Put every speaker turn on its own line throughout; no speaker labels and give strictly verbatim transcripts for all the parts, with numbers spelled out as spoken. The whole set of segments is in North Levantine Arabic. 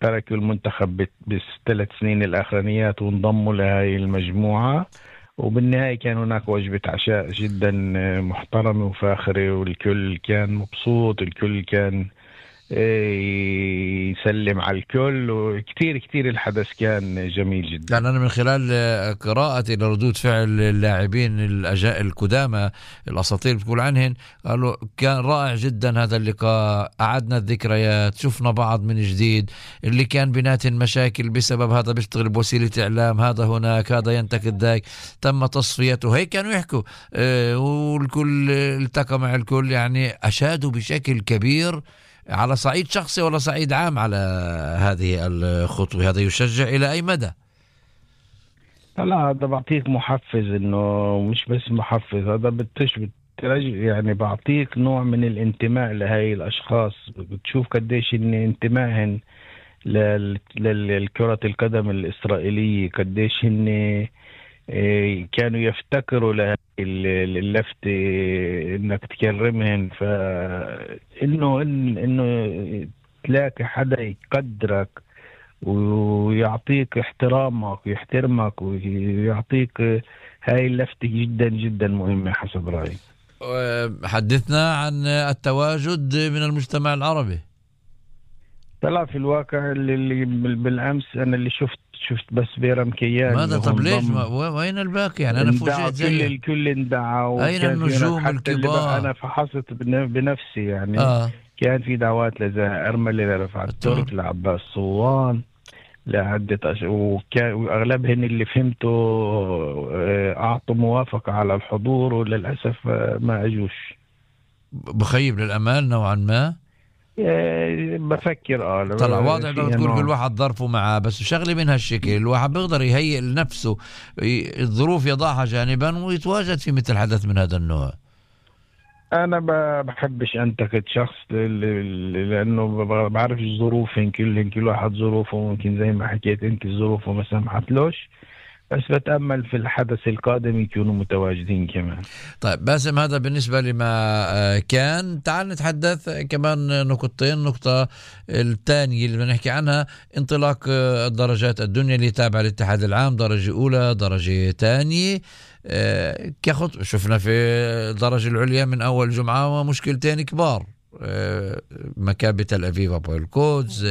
تركوا المنتخب بالثلاث سنين الأخرانيات وانضموا لهذه المجموعة، وبالنهاية كان هناك وجبة عشاء جدا محترمة وفاخرة، والكل كان مبسوط، الكل كان يسلم على الكل، وكتير كتير الحدث كان جميل جدا.
يعني أنا من خلال قراءتي لردود فعل اللاعبين الأجاء القدامى الأساطير بتقول عنهن، قالوا كان رائع جدا هذا اللقاء، أعدنا الذكريات، شفنا بعض من جديد، اللي كان بيناتهم مشاكل بسبب هذا بيشتغل بوسيلة إعلام، هذا هناك، هذا ينتقد ذاك، تم تصفيته، هيك كانوا يحكوا. أه والكل التقى مع الكل، يعني أشادوا بشكل كبير على صعيد شخصي ولا صعيد عام على هذه الخطوة. هذا يشجع إلى أي مدى؟
لا هذا بعطيك محفز، إنه مش بس محفز، هذا بتش بترجع يعني بعطيك نوع من الانتماء لهاي الأشخاص. بتشوف قديش إن انتمائهن للكرة القدم الإسرائيلية، قديش إن كانوا يفتكروا لهذه اللفتة إنك تكرمهن. فإنه إنه تلاقي حدا يقدرك ويعطيك احترامك ويحترمك ويعطيك هاي اللفتة جدا جدا مهمة حسب رأيي.
حدثنا عن التواجد من المجتمع العربي.
طلع في الواقع اللي بالأمس أنا اللي شفت شفت بس بيرم كيان.
ماذا؟ طب ليش ما وين الباقي؟ يعني أنا فوجئت
زي الكل اندعى.
أين النجوم الكبار؟
أنا فحصت بنفسي يعني
آه.
كان في دعوات لزها أرملة، لرفعت ترك، لعباس صوان، لعدة أش... وكان وأغلبهن اللي فهمته أعطوا موافقة على الحضور، وللأسف ما أجوش.
بخيب للأمال نوعا ما.
بفكر اه
طلع واضح لو تقول كل واحد ظرفه معاه، بس شغله من هالشكل الواحد بيقدر يهيئ لنفسه الظروف يضعها جانبا ويتواجد في مثل حدث من هذا النوع.
انا بحبش انتقد شخص لانه بعرف ظروفهم كلهم، كل واحد ظروفه، ممكن زي ما حكيت انت ظروفه ما سمحتلوش، بس بتأمل في الحدث القادم يكونوا متواجدين كمان.
طيب باسم، هذا بالنسبة لما كان. تعال نتحدث كمان نقطتين. نقطة الثانية اللي بنحكي عنها انطلاق الدرجات الدنيا اللي تابعة للاتحاد العام، درجة أولى، درجة ثانية. كخط شفنا في الدرجة العليا من أول جمعة ومشكلتين كبار، مكابة تل أبيب أبو القدس،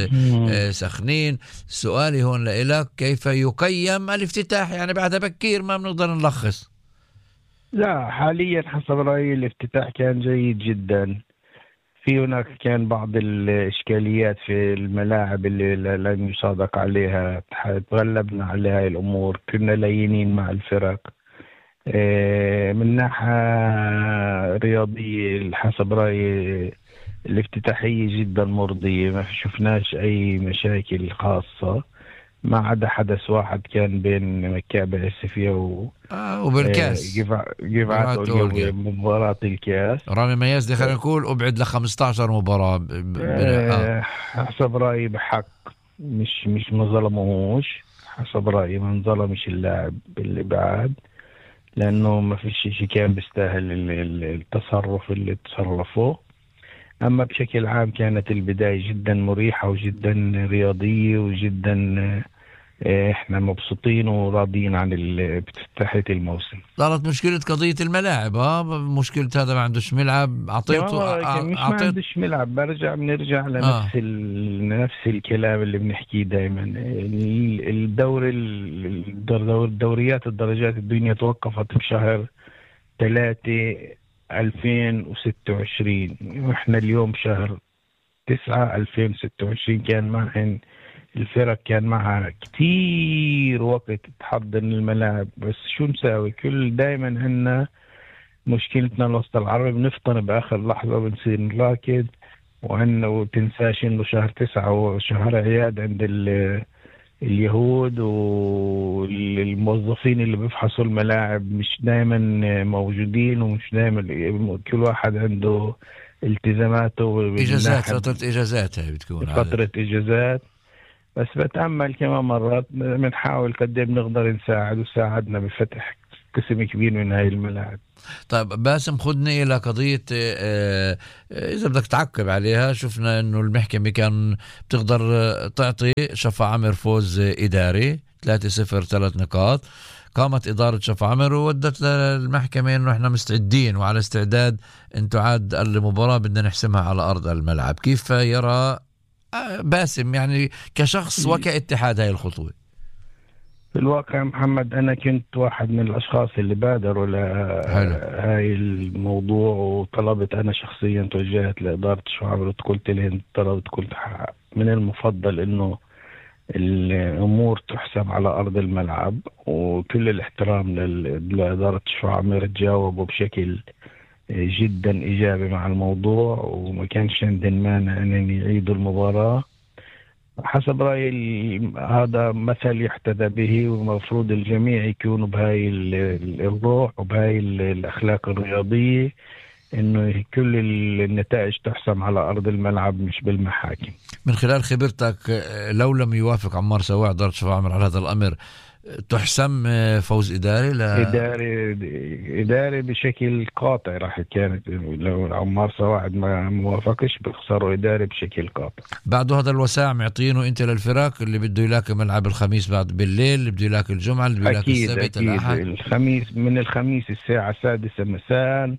سخنين. سؤالي هون لإلك، كيف يقيم الافتتاح؟ يعني بعد بكير ما بنقدر نلخص.
لا حاليا حسب رأيي الافتتاح كان جيد جدا. في هناك كان بعض الإشكاليات في الملاعب اللي لم يصادق عليها، تغلبنا على هاي الأمور، كنا لينين مع الفرق. من ناحية رياضية حسب رأيي الافتتاحية جدا مرضية، ما شفناش أي مشاكل خاصة، ما عدا حدث واحد كان بين مكابة السفية و
آه وبالكاس
جفعات أولية مباراة الكاس.
رامي مياز دي خلينا نقول أبعد لخمسة عشر مباراة ب... ب...
آه حسب رأيي بحق، مش مش ما ظلموهوش. حسب رأيي ما انظلمش اللاعب اللي بعد، لأنه ما فيش شيء كان بيستاهل التصرف اللي تصرفوه. أما بشكل عام كانت البداية جدا مريحة وجدا رياضية وجدا إحنا مبسوطين وراضيين عن افتتاحية الموسم.
صارت مشكلة قضية الملاعب، ها مشكلة هذا ما عندوش ملعب، أعطيته
مش
أعطيت...
ما عندوش ملعب. برجع بنرجع لنفس آه. ال... نفس الكلام اللي بنحكيه دائما. الدور الدور الدوريات الدرجات الدنيا توقفت بشهر ثلاثة ألفين وستة وعشرين، وإحنا اليوم شهر تسعة ألفين وستة وعشرين. كان معهن الفرق كان معها كتير وقت تحضر الملاعب، بس شو نساوي؟ كل دايما عنا مشكلتنا الوسط العربي، بنفطن بآخر لحظة، بنصير نراكد. وعنا وتنساش إنه شهر تسعة وشهر عياد عند اليهود، والموظفين اللي بيفحصوا الملاعب مش دايما موجودين، ومش دايما، كل واحد عنده التزاماته،
إجازات، فترة إجازات هاي بتكون
فترة إجازات. بس بتأمل كمان مرات بنحاول قد ايه بنقدر نساعد، وساعدنا بفتح قسم كبير من هاي الملاعب.
طيب باسم، خدني إلى قضية آه إذا بدك تعقب عليها. شفنا إنه المحكمة كان بتقدر تعطي شفا عمر فوز إداري ثلاثة صفر ثلاث نقاط. قامت إدارة شفا عمر وودت للمحكمة إنه إحنا مستعدين وعلى استعداد أن تعاد المباراة، بدنا نحسمها على أرض الملعب. كيف يرى باسم يعني كشخص وكاتحاد هاي الخطوة؟
في الواقع محمد، أنا كنت واحد من الأشخاص اللي بادروا لهاي الموضوع، وطلبت أنا شخصيا، توجهت لإدارة شفا عمر وقلت لهم، طلبت قلت من المفضل إنه الأمور تحسم على أرض الملعب، وكل الاحترام لإدارة شفا عمر تجاوبوا بشكل جدا إيجابي مع الموضوع، وما كانش عندهم مانع أن يعيدوا المباراة. حسب رأيي هذا مثل يحتذى به، ومفروض الجميع يكونوا بهاي الروح وبهاي الأخلاق الرياضية، إنه كل النتائج تحسم على أرض الملعب مش بالمحاكم.
من خلال خبرتك، لو لم يوافق عمار سواع إدارة شفا عمر على هذا الأمر، تحسم فوز إداري؟ لا
إداري إداري بشكل قاطع. راح كانت لو عمار سواعد ما موافقش بخسروا إداري بشكل قاطع.
بعد هذا الوساع معطينه أنت للفرق اللي بده يلاك ملعب الخميس بعد بالليل، اللي بده يلاك الجمعة، اللي بده يلاك السبت الأحد.
الخميس من الخميس الساعة السادسة مساء،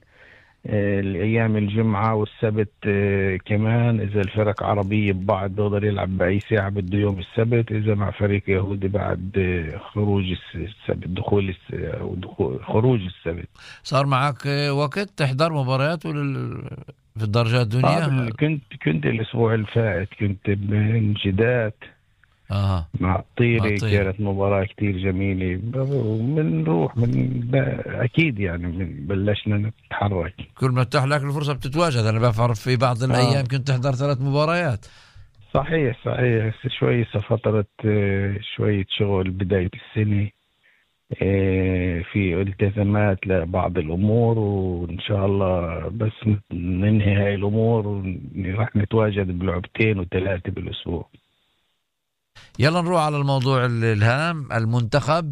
الأيام الجمعة والسبت كمان. إذا الفرق عربية ببعض بيقدر يلعب بأي ساعة بده يوم السبت، إذا مع فريق يهودي بعد خروج السبت، دخول أو دخول خروج السبت.
صار معك وقت تحضر مباريات في الدرجات الدنيا؟
آه كنت كنت الأسبوع الفائت كنت بنجدات
آه.
مع الطيري، كانت مباراة كتير جميلة، ومنروح من أكيد يعني من بلشنا نتحرك.
كل ما تتاح لك الفرصة بتتواجد. أنا بعرف في بعض الأيام آه. كنت تحضر ثلاث مباريات.
صحيح صحيح شوية فترة شوية شغل بداية السنة، في التزامات لبعض الأمور، وإن شاء الله بس ننهي هاي الأمور ورح نتواجد بلعبتين وثلاثة بالأسبوع.
يلا نروح على الموضوع الهام. المنتخب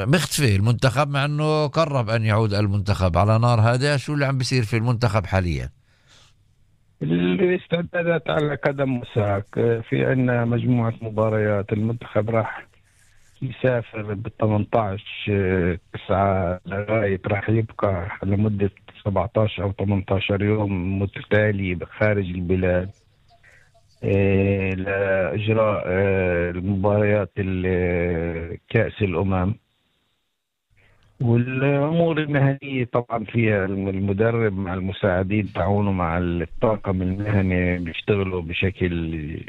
مختفي، المنتخب مع أنه قرب أن يعود المنتخب على نار هادئة. شو اللي عم بيصير في المنتخب حاليا؟
الاستعدادات على قدم وساق. في عنا مجموعة مباريات. المنتخب راح يسافر ب ثمانية عشر تسعة لغاية، راح يبقى لمدة سبعة عشر أو ثمانية عشر يوم متتالي خارج البلاد إيه لإجراء إيه المباريات كأس الأمم. والأمور المهنية طبعا فيها المدرب مع المساعدين تعاونوا مع الطاقم المهني بيشتغلوا بشكل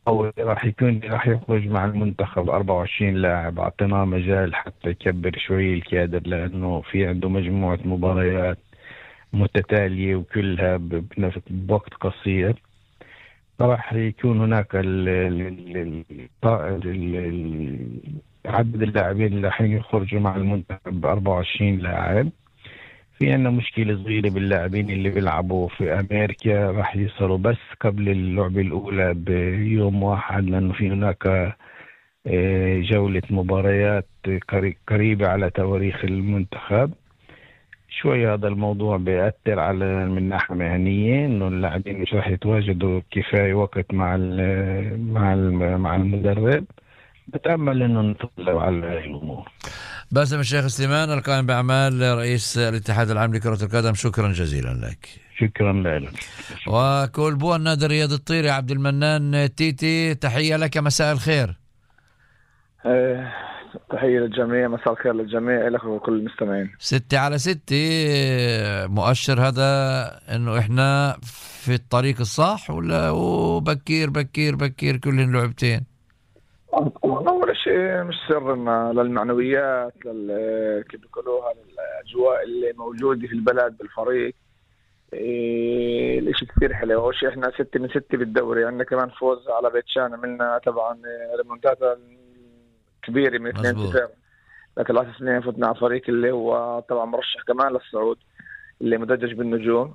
قوي. راح يكون راح يخرج مع المنتخب أربعة وعشرين لاعب، أعطيناه مجال حتى يكبر شوي الكادر، لأنه في عنده مجموعة مباريات متتالية وكلها بوقت قصير. راح يكون هناك ال ال ال عدد اللاعبين اللي راح يخرجوا مع المنتخب أربعة وعشرين لاعب. في عندنا مشكلة صغيرة باللاعبين اللي بيلعبوا في أمريكا، راح يصلوا بس قبل اللعبة الأولى بيوم واحد، لأنه في هناك جولة مباريات قريبة على تواريخ المنتخب. شوي هذا الموضوع بيأثر على من ناحية مهنية، إنه اللاعبين مش راح يتواجدوا كفاية وقت مع مع مع المدرب. بتأمل إنه نتغلب على هذه الأمور.
باسم الشيخ سليمان، القائم بأعمال رئيس الاتحاد العام لكرة القدم، شكرا جزيلا لك.
شكرا لك.
وكولبو النادي الرياضي الطيري عبد المنان تيتي، تحية لك، مساء الخير.
أه تحية للجميع، مساء الخير للجميع، لك وكل المستمعين.
ستة على ستة مؤشر هذا انه احنا في الطريق الصح، ولا بكير بكير بكير كلهن لعبتين؟
أول شيء مش سر للمعنويات، لل كيف بيقولوها، للأجواء اللي موجودة في البلد بالفريق. إيه الاشي كثير حلو. أول شيء احنا ستة من ستة بالدوري، عندنا كمان فوز على بيت شان، عملنا طبعا ريمونتادا كبيرة من اثنين صفر لثلاث سنين، فتنا على فريق اللي هو طبعا مرشح كمان للصعود، اللي مدجج بالنجوم.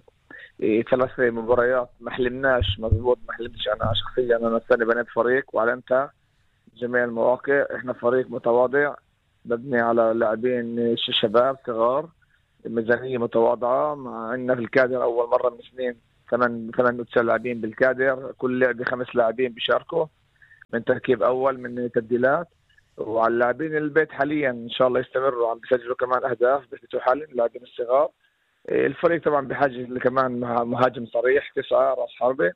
إيه ثلاث مباريات ما حلمناش، مضبوط ما حلمتش انا شخصيا. انا السنة بنيت فريق وعلمتها جميع المواقع. احنا فريق متواضع، مبني على لاعبين شباب صغار، ميزانية متواضعة. مع عندنا في الكادر أول مرة من سنين ثمان ثمان وتسع لاعبين بالكادر، كل لعبة خمس لاعبين بيشاركوا من تركيب أول من تبديلات. وعلى اللاعبين البيت حاليا إن شاء الله يستمروا عم بيسجلوا كمان أهداف بيثبتوا حالهم اللاعبين الصغار. الفريق طبعا بحاجة كمان مهاجم صريح تسعة راس حربة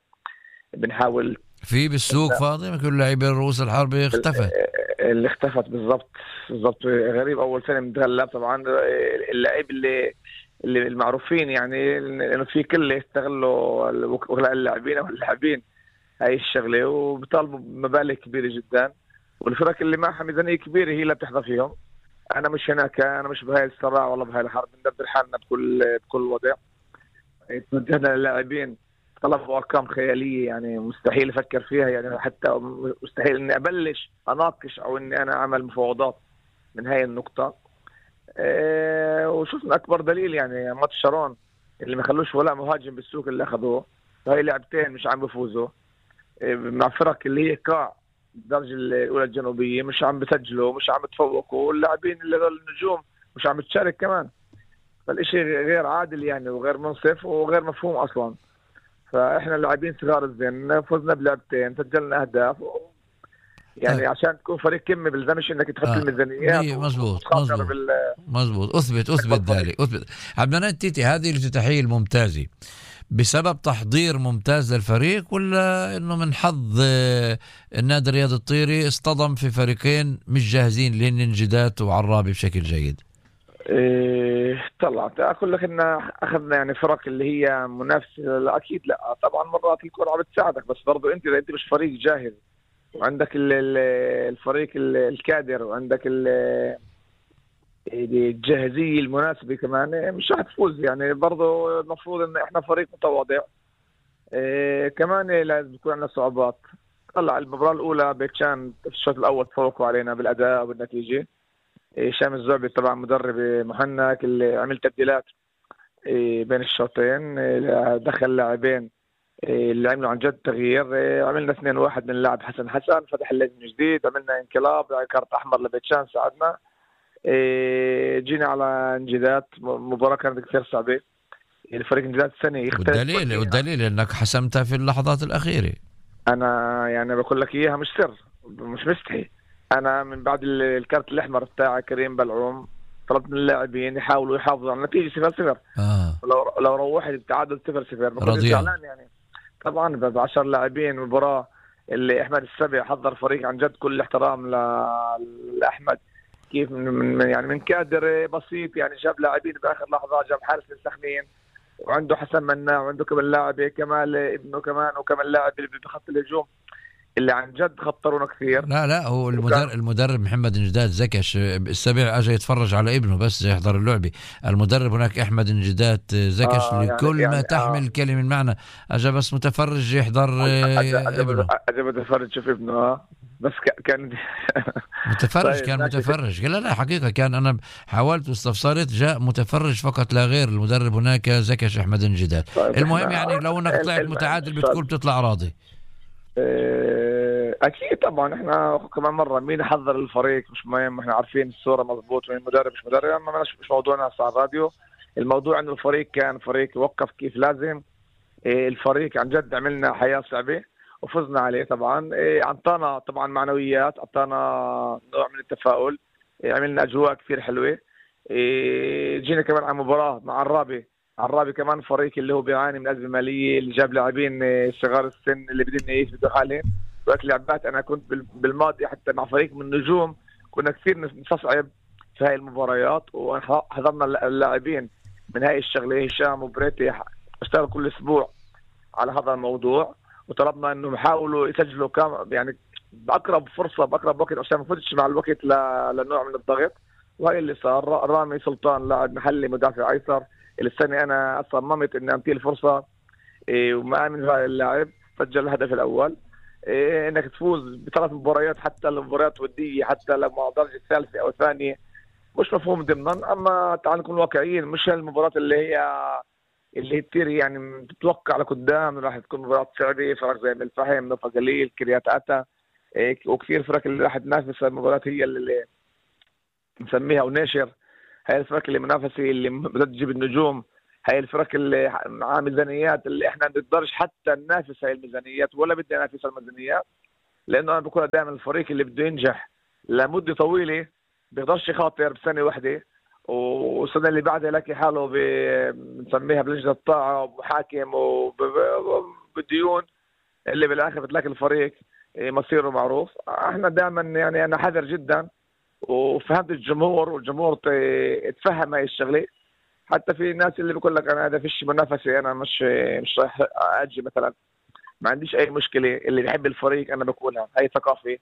بنحاول.
في بالسوق فاضي كل لاعبين رؤوس الحربة اختفت
اللي اختفت بالضبط بالضبط. غريب أول سنة متغلب طبعا اللاعب اللي اللي المعروفين يعني لأنه في كله يستغلوا وكلاء اللاعبين أو اللاعبين هاي الشغلة وبيطالبوا مبالغ كبيرة جدا. والفرق اللي معها ميزانية كبيرة هي اللي بتحظى فيهم. أنا مش هناك، أنا مش بهاي الصراع ولا بهاي الحرب، ندبر حالنا بكل بكل وضع. توجهنا للاعبين طلبوا أرقام خيالية يعني مستحيل أفكر فيها، يعني حتى مستحيل إني أبلش أناقش أو إني أنا أعمل مفاوضات من هاي النقطة. أه وشوفنا أكبر دليل يعني ماتش شارون اللي ما خلوش ولا مهاجم بالسوق اللي أخذوه، هاي لعبتين مش عم بفوزوا أه مع فرق اللي هي قاع الدرجة الأولى الجنوبية، مش عم بسجلوا مش عم بتفوقوا، واللاعبين اللي دول النجوم مش عم بتشارك كمان. فالإشي غير عادل يعني وغير منصف وغير مفهوم أصلا. فإحنا اللاعبين صغار الزين فزنا بلعبتين سجلنا أهداف و... يعني طيب. عشان تكون فريق كمي بلزمش إنك تحط آه. الميزانيات
مزبوط مزبوط
بال...
مزبوط أثبت أثبت ذلك أثبت. عبد المنعم تيتي، هذه الافتتاحية الممتازة بسبب تحضير ممتاز للفريق ولا إنه من حظ النادي الرياضي الطيري اصطدم في فريقين مش جاهزين للانجدات وعرابي بشكل جيد؟
إيه طلعت أقول لك إن أخذنا يعني فرق اللي هي منافسة. لا أكيد لا طبعا مرات الكرة بتساعدك، بس برضو أنت إذا أنت مش فريق جاهز وعندك الفريق الكادر وعندك الجاهزية المناسبة كمان مش راح تفوز. يعني برضو المفروض إن إحنا فريق متواضع. إيه كمان لازم يكون عندنا صعوبات. طلع المباراة الأولى بيتشان في الشوط الأول تفوقوا علينا بالأداء والنتيجة. هشام الزعبي طبعا مدرب محنك اللي عمل تبديلات بين الشوطين، دخل لاعبين اللي عملوا عن جد تغيير. عملنا اثنين واحد من اللاعب حسن حسن فتح اللجنة جديد، عملنا انقلاب كارت احمر لبيتشان ساعدنا. جينا على انجدات مباراة كانت كثير صعبة. الفريق انجدات السنة يختلف
والدليل والدليل انك حسمتها في اللحظات الأخيرة.
انا يعني بقول لك اياها مش سر مش مستحي. انا من بعد الكارت الاحمر بتاع كريم بلعوم طلبت من اللاعبين يحاولوا يحافظوا على النتيجه صفر صفر.
آه.
لو لو روحت التعادل صفر صفر بكون زعلان يعني. طبعا ب عشرة لاعبين مباراه اللي احمد السبع حضر فريق عن جد كل احترام لاحمد كيف من, من يعني من كادر بسيط يعني جاب لاعبين باخر لحظه، جاب حارس للسخنين وعنده حسن مناع وعنده كمان لاعب كمال ابنه كمان وكمان لاعب اللي بخط الهجوم اللي عن جد خطرونا كثير.
لا لا هو المدرب المدرب محمد نجداد زكش السبع اجى يتفرج على ابنه بس يحضر اللعبه. المدرب هناك احمد نجداد زكش آه لكل يعني ما يعني تحمل آه كلمه المعنى اجى بس متفرج يحضر ابنه.
اجى متفرج شوف ابنه اه بس كان
متفرج طيب كان متفرج. لا لا حقيقه كان انا حاولت واستفسرت جاء متفرج فقط لا غير. المدرب هناك زكش احمد نجداد. طيب المهم يعني لو انك طلعت متعادل بتقول بتطلع راضي.
اكيد طبعا احنا كمان مره مين يحضر الفريق مش مهم، احنا عارفين الصوره مضبوط مين المدرب مش مدرب، اما مش موضوعنا هسه على الراديو. الموضوع انه الفريق كان فريق وقف كيف لازم. الفريق عن جد عملنا حياه صعبه وفزنا عليه طبعا. اعطانا طبعا معنويات، اعطانا نوع من التفاؤل، عملنا اجواء كثير حلوه. جينا كمان على مباراه مع عرابي. عرابي كمان فريق اللي هو بيعاني من أزمة مالية، اللي جاب لاعبين صغار السن اللي بدهم يثبتوا حالهم. وقت لعبات أنا كنت بالماضي حتى مع فريق من النجوم كنا كثير نستصعب في هاي المباريات وحضرنا اللاعبين من هاي الشغلة. هشام وبريتي اشتغلوا كل أسبوع على هذا الموضوع وطلبنا إنهم يحاولوا يسجلوا كام يعني بأقرب فرصة بأقرب وقت عشان ما نفوتش مع الوقت لنوع من الضغط. وهي اللي صار. رامي سلطان لاعب محلي مدافع أيسر السنة أنا صممت إني أمتي الفرصة إيه وما آمن هذا اللاعب سجل الهدف الأول. إيه إنك تفوز بثلاث مباريات حتى المباريات ودية حتى لما درجة الثالثة أو الثانية مش مفهوم ضمنا. أما تعال نكون واقعيين مش المباريات اللي هي اللي هي كتير يعني تتوقع لقدام راح تكون مباريات صعبة. فرق زي الفهم نوفا قليل كريات أتا إيه وكثير فرق اللي راح تنافس المباريات هي اللي نسميها وناشر، هاي الفرق اللي منافسة اللي بدها تجيب النجوم، هاي الفرق اللي مع ميزانيات اللي احنا ما بنقدرش حتى ننافس هاي الميزانيات ولا بدنا ننافس الميزانيات، لانه انا بقول دائما الفريق اللي بده ينجح لمده طويله بيقدرش يخاطر بسنه واحده والسنه اللي بعدها يلاقي حاله بنسميها بلجنه الطاعه ومحاكم وبديون اللي بالاخر بتلاقي الفريق مصيره معروف. احنا دائما يعني انا حذر جدا وفهمت الجمهور والجمهور تفهم هاي الشغله. حتى في ناس اللي بقول لك انا هذا فيش منافسه، انا مش مش رايح اجي مثلا، ما عنديش اي مشكله. اللي بيحب الفريق انا بقولها هاي ثقافه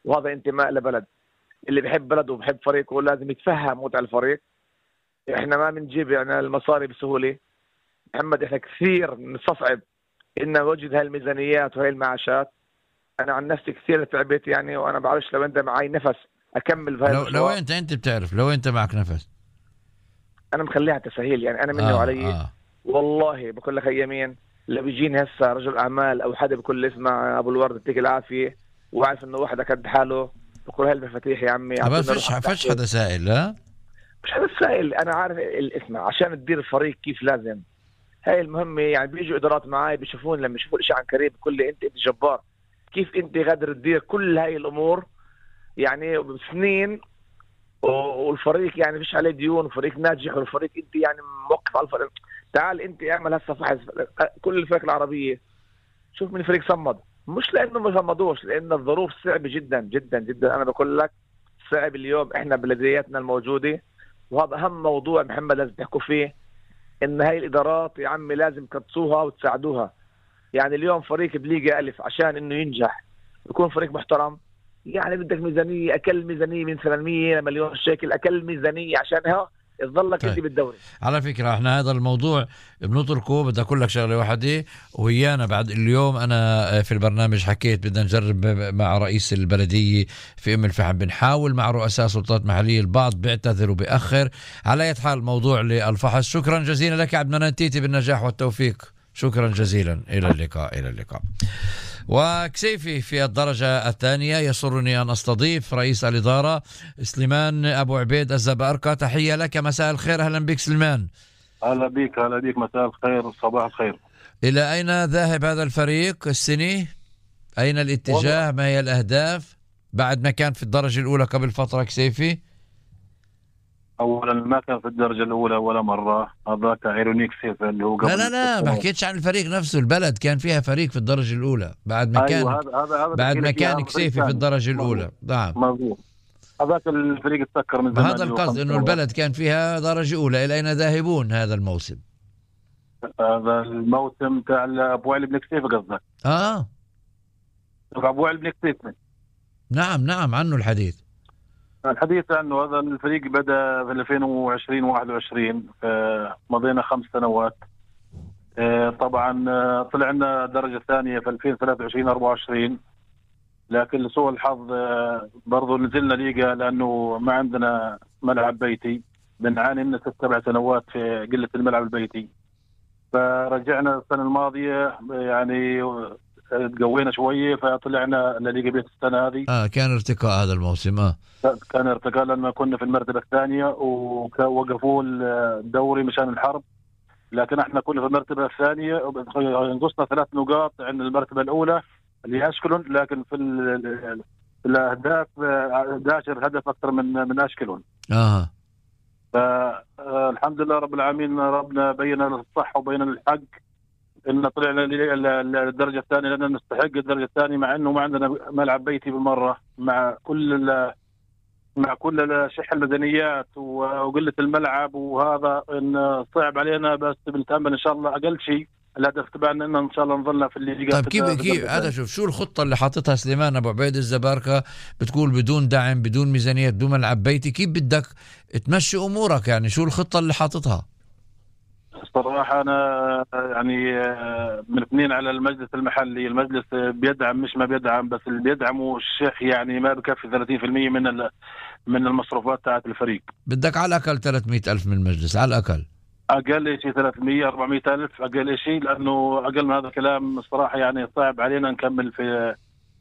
وهذا انتماء لبلد. اللي بيحب بلده وبيحب فريقه لازم يتفهم متع الفريق. احنا ما بنجيب يعني المصاري بسهوله محمد، احنا كثير بنستصعب ان نوجد هاي الميزانيات وهي المعاشات. انا عن نفسي كثير تعبت يعني، وانا بعرفش لو انت معي نفس اكمل بهاي
لو, لو انت انت بتعرف لو انت معك نفس
انا مخليها تسهيل يعني، انا مني
آه
وعلي
آه.
والله بقول لك يمين لو بيجيني هسه رجل اعمال او حدا بكل اسمع ابو الورد يعطيك العافيه وعارف انه واحد قد حاله بقول هاي المفاتيح يا عمي.
ما فيش فيش حدا سائل. لا
مش حدا سائل، انا عارف الاسمع عشان تدير الفريق كيف لازم. هاي المهمه يعني. بيجوا ادارات معي بيشوفون لما يشوفوا الاشي عن قريب بكل لي انت انت جبار، كيف انت قادر تدير كل هاي الامور يعني بسنين والفريق يعني فيش عليه ديون وفريق ناجح والفريق انت يعني موقف على الفريق. تعال انت اعمل هسه فحص كل الفرق العربيه، شوف من الفريق صمد، مش لانه ما صمدوش، لان الظروف صعبه جدا جدا جدا. انا بقول لك صعب اليوم احنا بلدياتنا الموجوده، وهذا اهم موضوع محمد لازم تحكوا فيه، ان هاي الادارات يا عمي لازم تقصوها وتساعدوها. يعني اليوم فريق بليغا الف عشان انه ينجح يكون فريق محترم يعني بدك ميزانيه، اقل ميزانيه من ثمانمية مليون شيكل، اقل ميزانيه عشانها تظلك انت بالدوري.
على فكره احنا هذا الموضوع بنتركه. بدي اقول لك شغله واحده ويانا بعد اليوم انا في البرنامج حكيت بدنا نجرب مع رئيس البلديه في ام الفحم، بنحاول مع رؤساء سلطات محليه، البعض بيعتذر وبيأخر. على اي حال موضوع للفحص. شكرا جزيلا لك عبد المنان تيتي، بالنجاح والتوفيق. شكرا جزيلا. الى اللقاء. الى اللقاء. وكسيفي في الدرجة الثانية يسرني أن أستضيف رئيس الإدارة سليمان أبو عبيد الزباركة. تحية لك، مساء الخير. أهلا بك سليمان.
أهلا بك. أهلا بك. مساء الخير. صباح الخير.
إلى أين ذاهب هذا الفريق السنة؟ أين الاتجاه؟ ما هي الأهداف بعد ما كان في الدرجة الأولى قبل فترة كسيفي؟
اولا ما كان في الدرجه الاولى ولا مره، هذاك ايرونيك سيف اللي هو قبل.
لا لا لا ما حكيتش عن الفريق نفسه. البلد كان فيها فريق في الدرجه الاولى بعد ما كان
أيوة هذا هذا هذا
بعد ما كان كسيفي في الدرجه الاولى. نعم
مظبوط. هذاك الفريق تسكر من زمان.
هذا القصد انه البلد كان فيها درجه اولى. الى اين ذاهبون هذا الموسم؟
هذا الموسم تاع ابو علي بن كسيف قصدك؟
اه
ابو علي بن كسيف.
نعم نعم عنه الحديث.
الحديث عنه هذا الفريق بدأ في ألفين وعشرين وواحد وعشرين، مضينا خمس سنوات. طبعا طلعنا درجة ثانية في ألفين وثلاثة وعشرين أربعة وعشرين، لكن لسوء الحظ برضو نزلنا ليغا لأنه ما عندنا ملعب بيتي. بنعاني من ست سبع سنوات في قلة الملعب البيتي. فرجعنا السنة الماضية يعني تقوينا شويه فطلعنا لليغا بيت السنه هذه.
اه كان ارتقاء هذا الموسم. اه
كان ارتقاء لما كنا في المرتبه الثانيه ووقفوا الدوري مشان الحرب، لكن احنا كنا في المرتبه الثانيه نقصنا ثلاث نقاط عن المرتبه الاولى اللي اشكلون، لكن في, في الاهداف أحد عشر هدف اكثر من من اشكلون.
اه
فالحمد لله رب العالمين، ربنا بين لنا الصح وبين الحق ان طلعنا للدرجه الثانيه لان نستحق الدرجه الثانيه، مع انه ما عندنا ملعب بيتي بالمره، مع كل مع كل شح الميزانيات وقله الملعب، وهذا ان صعب علينا. بس بنتامل ان شاء الله اقل شيء الهدف تبعنا ان ان شاء الله نظلنا في الليغا.
طيب كيف كيف هذا؟ شوف شو الخطه اللي حاططها سليمان ابو عبيد الزباركه؟ بتقول بدون دعم، بدون ميزانيه، بدون ملعب بيتي، كيف بدك تمشي امورك يعني؟ شو الخطه اللي حاططها؟
صراحة أنا يعني من اثنين على المجلس المحلي. المجلس بيدعم مش ما بيدعم، بس اللي بيدعمه الشيخ يعني ما بكفي ثلاثين بالمئة من من المصروفات تاعت الفريق.
بدك على الأقل ثلاثمئة ألف من المجلس على الأقل.
أقل شيء ثلاثمئة أربعمئة ألف أقل شيء، لأنه أقل من هذا الكلام الصراحة يعني صعب علينا نكمل في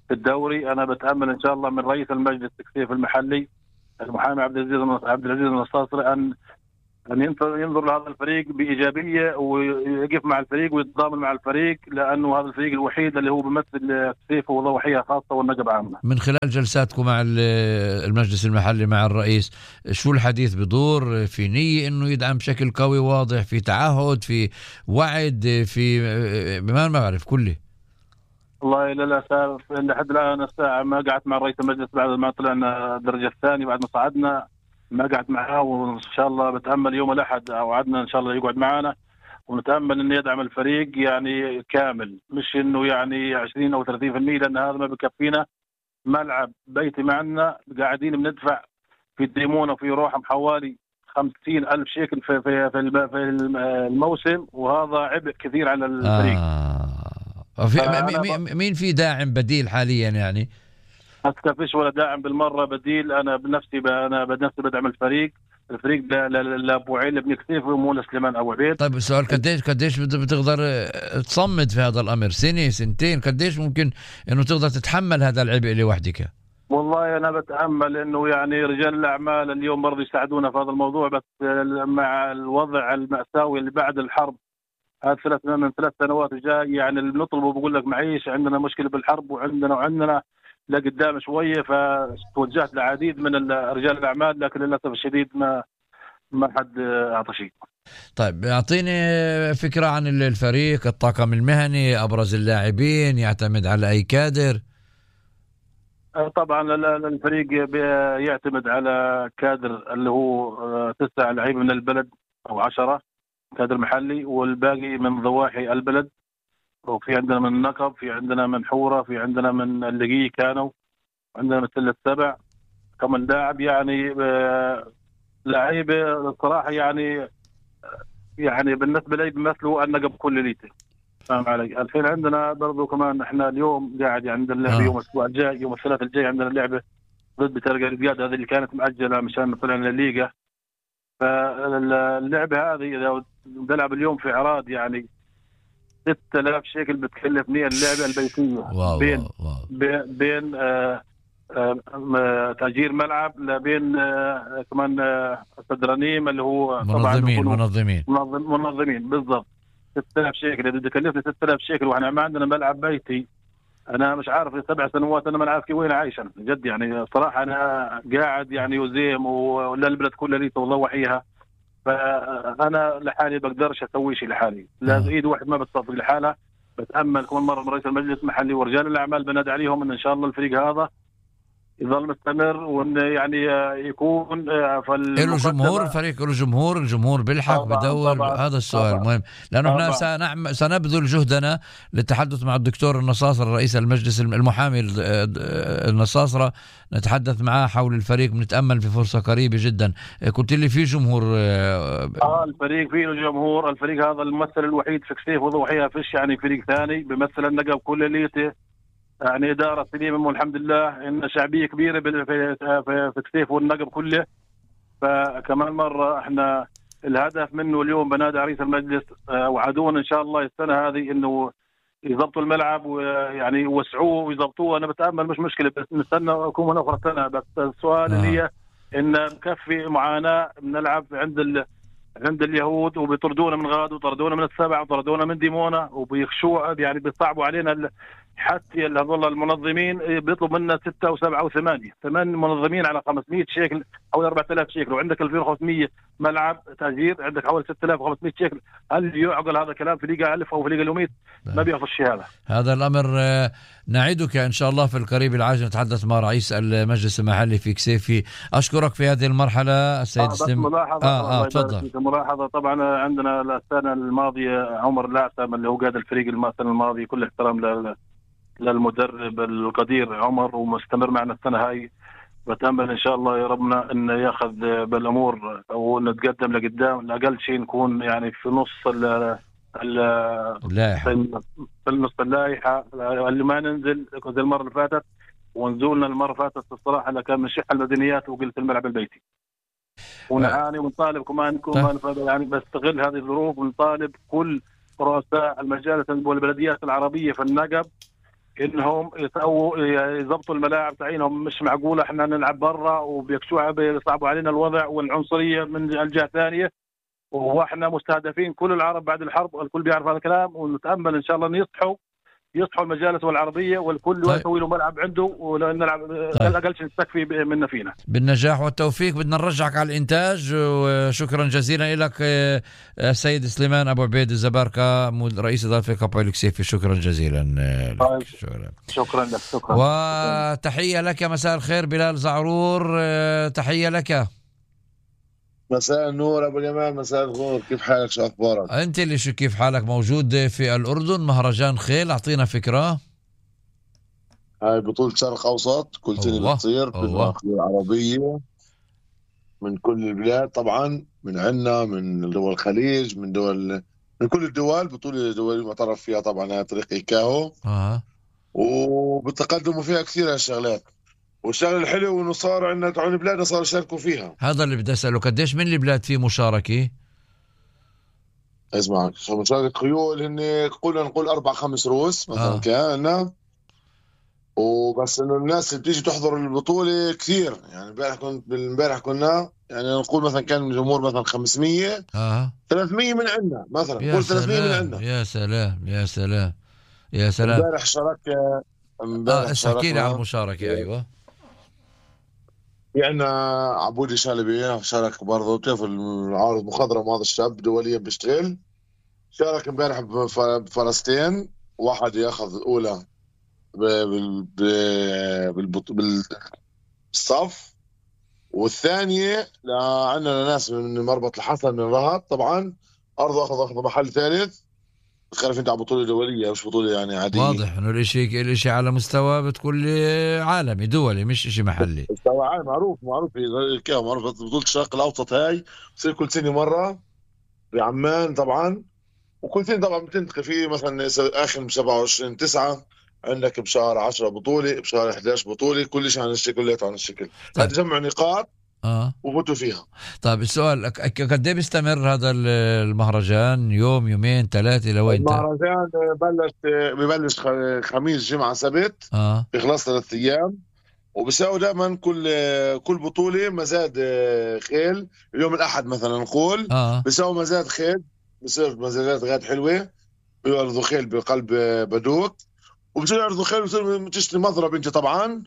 في الدوري. أنا بتأمل إن شاء الله من رئيس المجلس كسيف المحلي المحامي عبد العزيز عبد العزيز النصاصري ان ان ينظر ينظر لهذا الفريق بايجابيه ويقف مع الفريق ويتضامن مع الفريق، لانه هذا الفريق الوحيد اللي هو بيمثل كثيف وضوحيه خاصه والنقب عامه.
من خلال جلساتكم مع المجلس المحلي مع الرئيس، شو الحديث بدور؟ في نيه انه يدعم بشكل قوي واضح، في تعهد، في وعد، في ما ما بعرف كله؟
والله للاسف لحد الان الساعه ما قعدت مع رئيس المجلس بعد ما طلعنا الدرجه الثانيه، بعد ما صعدنا ما قعدت معاه، وان شاء الله بتامل يوم الاحد اوعدنا ان شاء الله يقعد معنا، ونتامل انه يدعم الفريق يعني كامل، مش انه يعني عشرين او ثلاثين بالمئة، لان هذا ما بكفينا. ملعب بيتي معنا قاعدين بندفع في الديمونه وفي روحهم حوالي خمسين ألف شيكل في في في الموسم، وهذا عبء كثير على الفريق.
آه. في مين في داعم بديل حاليا يعني؟
حتى فيش ولا داعم بالمره بديل. انا بنفسي انا بنفسي بدعم الفريق الفريق لابو عيل بن كثيف ومو لسليمان ابو عبيد.
طيب السؤال قديش قديش بتقدر تصمد في هذا الامر؟ سنه سنتين؟ قديش ممكن انه تقدر تتحمل هذا العبء لوحدك؟
والله انا بتامل انه يعني رجال الاعمال اليوم برضه يساعدونا في هذا الموضوع، بس مع الوضع المأساوي اللي بعد الحرب هذا ثلاث من ثلاث سنوات جاي، يعني اللي بنطلبه بقول لك معيش، عندنا مشكله بالحرب وعندنا وعندنا لقدام شويه، فتوجهت لعديد من رجال الاعمال، لكن للاسف الشديد ما ما حد اعطى شيء.
طيب اعطيني فكره عن الفريق، الطاقم المهني، ابرز اللاعبين، يعتمد على اي كادر؟
طبعا الفريق يعتمد على كادر اللي هو تسع لعيبه من البلد او عشرة كادر محلي، والباقي من ضواحي البلد، وفي عندنا من النقب، في عندنا من حورة، في عندنا من اللقي كانوا، عندنا مثل السبع كمان لاعب، يعني لعيبه الصراحه يعني يعني بالنسبه لي بيمثلوا النقب كل ليته. فاهم علي؟ الحين عندنا برضو كمان احنا اليوم قاعد عندنا اللعبه آه. يوم الاسبوع الجاي يوم الثلاثاء الجاي عندنا لعبه ضد بترقة الرياض، هذه اللي كانت مأجله مشان طلعنا الليغا. فاللعبه هذه اذا بنلعب اليوم في عراض يعني ستة آلاف شيكل بتكلفني اللعبه البيتيه.
واو
بين
واو.
بين آه آه تأجير ملعب لبين آه كمان آه سدرانيم اللي هو
منظمين منظمين
منظم منظمين بالضبط. ستة آلاف شيكل اذا بدي كلفني ستة آلاف شيكل واحنا ما عندنا ملعب بيتي. انا مش عارف في سبع سنوات انا ما عارف كيف وين عايش انا جد، يعني صراحه انا قاعد يعني وزيم ولا البلد كلها لي وضوحيها، فانا لحالي بقدرش اسوي شيء لحالي، لازم ايد واحد ما بتصفق لحالها. بتامل كمان مره من رئيس المجلس المحلي ورجال الاعمال بنادي عليهم ان ان شاء الله الفريق هذا يظل مستمر، وان يعني يكون
في له جمهور، الفريق له جمهور، الجمهور بيلحق بدور. هذا السؤال طبعًا. مهم، لانه احنا سنعمل سنبذل جهدنا للتحدث مع الدكتور النصاصرة رئيس المجلس المحامي النصاصرة، نتحدث معاه حول الفريق، بنتامل في فرصه قريبه جدا. قلت لي في جمهور؟
اه الفريق فيه جمهور، الفريق هذا الممثل الوحيد في كسيف وضوحيها فيش يعني فريق ثاني بيمثل النقب كل ليته، يعني إدارة سليمة والحمد لله إن شعبية كبيرة في في كسيف والنقب كله. فكمان مرة إحنا الهدف منه اليوم بنادي رئيس المجلس وعدونا إن شاء الله السنة هذه إنه يضبطوا الملعب ويعني يوسعوه ويضبطوه. أنا بتأمل مش مشكلة بس نستنى أكون أخرى سنة. بس السؤال اللي هي إن مكفي معاناة بنلعب عند ال عند اليهود وبيطردونا من غاد وطردونا من السبع وطردونا من ديمونا وبيخشوا يعني بيصعبوا علينا. حتى هذول المنظمين بيطلب منا ستة وسبعة وثمانية ثمان منظمين على خمسمية شيكل أو أربعة آلاف شيكل، وعندك ألفين وخمسمية ملعب تأجير، عندك حوالي ستة آلاف وخمسمية شيكل. هل يعقل هذا الكلام في ليغا ألف أو في ليغا اليوميت؟ ما بيعرفش هذا.
هذا الأمر نعيدك إن شاء الله في القريب العاجل نتحدث مع رئيس المجلس المحلي في كسيفي. أشكرك في هذه المرحلة السيد سليم.
آه ملاحظة
آه آه تفضل.
ملاحظة طبعا عندنا السنة الماضية عمر العسام اللي هو قاد الفريق السنة الماضية، كل احترام لل للمدرب القدير عمر ومستمر معنا السنة هاي. بتأمل إن شاء الله يا ربنا إن ياخذ بالأمور ونتقدم لقدام، لأقل شيء نكون يعني في نص ال
اللائحة،
في نص اللائحة اللي ما ننزل زي المرة اللي فاتت. ونزولنا المرة اللي فاتت الصراحة اللي كان من شح المدنيات وقلت الملعب البيتي ونعاني ونطالب كمان كمان يعني بستغل هذه الظروف ونطالب كل رؤساء المجالس والبلديات العربية في النقب انهم يسووا يضبطوا الملاعب تعينهم. مش معقوله احنا نلعب برا وبيكشوها بيصعبوا علينا الوضع والعنصريه من الجهه الثانيه، واحنا مستهدفين كل العرب بعد الحرب، والكل بيعرف هذا الكلام. ونتامل ان شاء الله ان يصحوا يصحوا المجالس والعربيه والكل
طيب.
يسوي له ملعب عنده ونلعب
طيب.
على الاقل نستكفي منا فينا.
بالنجاح والتوفيق. بدنا نرجعك على الانتاج، وشكرا جزيلا لك السيد سليمان ابو عبيد الزباركه رئيس اداره كابو الكسيفي. شكرا جزيلا لك.
طيب.
شكرا.
شكرا لك. شكرا.
وتحيه لك. مساء الخير بلال زعرور، تحيه لك.
مساء النور ابو اليمان. مساء الخير، كيف حالك؟ شو اخبارك؟
انت اللي شو كيف حالك؟ موجود في الاردن مهرجان خيل، اعطينا فكره.
هاي بطولة شرق اوسط كل سنه بتصير بالمنطقه العربيه من كل البلاد طبعا، من عنا من دول الخليج، من دول من كل الدول. بطوله دوليه معترف فيها طبعا، هاي طريق ايكاهو.
اه
وبتقدموا فيها كثير هالشغلات. والشغله الحلو انه صار عندنا تعون بلادنا صاروا يشاركوا فيها.
هذا اللي بدي اساله، قديش من البلاد فيه مشاركه؟
اسمع، مشاركة خيول هن قلنا نقول اربع خمس روس مثلا. آه. كان وبس انه الناس اللي بتيجي تحضر البطوله كثير. يعني امبارح كنت بالامبارح كنا يعني نقول مثلا كان الجمهور مثلا خمسمية.
اه
ثلاثمية من عندنا مثلا. قول ثلاثمية من عندنا.
يا سلام يا سلام يا سلام.
امبارح شارك
امبارح اه احكي لي عن المشاركه. ايوه
في عندنا عبودي شالبي شارك برضه. بتعرف العارض مخضرم، هذا الشاب دوليا بيشتغل. شارك امبارح بفلسطين، واحد ياخذ الاولى بالصف، والثانيه عندنا ناس من مربط الحسن من رهط طبعا ارضه اخذ اخذ محل ثالث. خلف انت على بطوله دوليه مش بطوله يعني عاديه.
واضح انه الاشي الاشي على مستوى بتقول عالمي دولي مش اشي محلي.
مستوى عالمي معروف معروف كيف معروف. بطوله الشرق الاوسط هاي بتصير كل سنه مره بعمان طبعا، وكل سنه طبعا بتنتقل في مثلا اخر سبعة وعشرين تسعة عندك بشهر عشرة بطوله، بشهر احد عشر بطوله، كل شيء عن الشكل كلياته عن الشكل. طيب. هذا جمع نقاط
اه
وفوتوا فيها.
طيب السؤال، قد ايه بيستمر هذا المهرجان؟ يوم يومين ثلاثه لوين؟
المهرجان بلش ببلش خميس جمعه سبت.
اه
بيخلص ثلاث ايام. وبيساوي دائما كل كل بطوله مزاد خيل. اليوم الاحد مثلا نقول
اه
بيساوي مزاد خيل، بصير مزادات غاد حلوه. بيعرضوا خيل بقلب بدوك، وبصير يعرضوا خيل وبصير تشتري مضرب انت طبعا،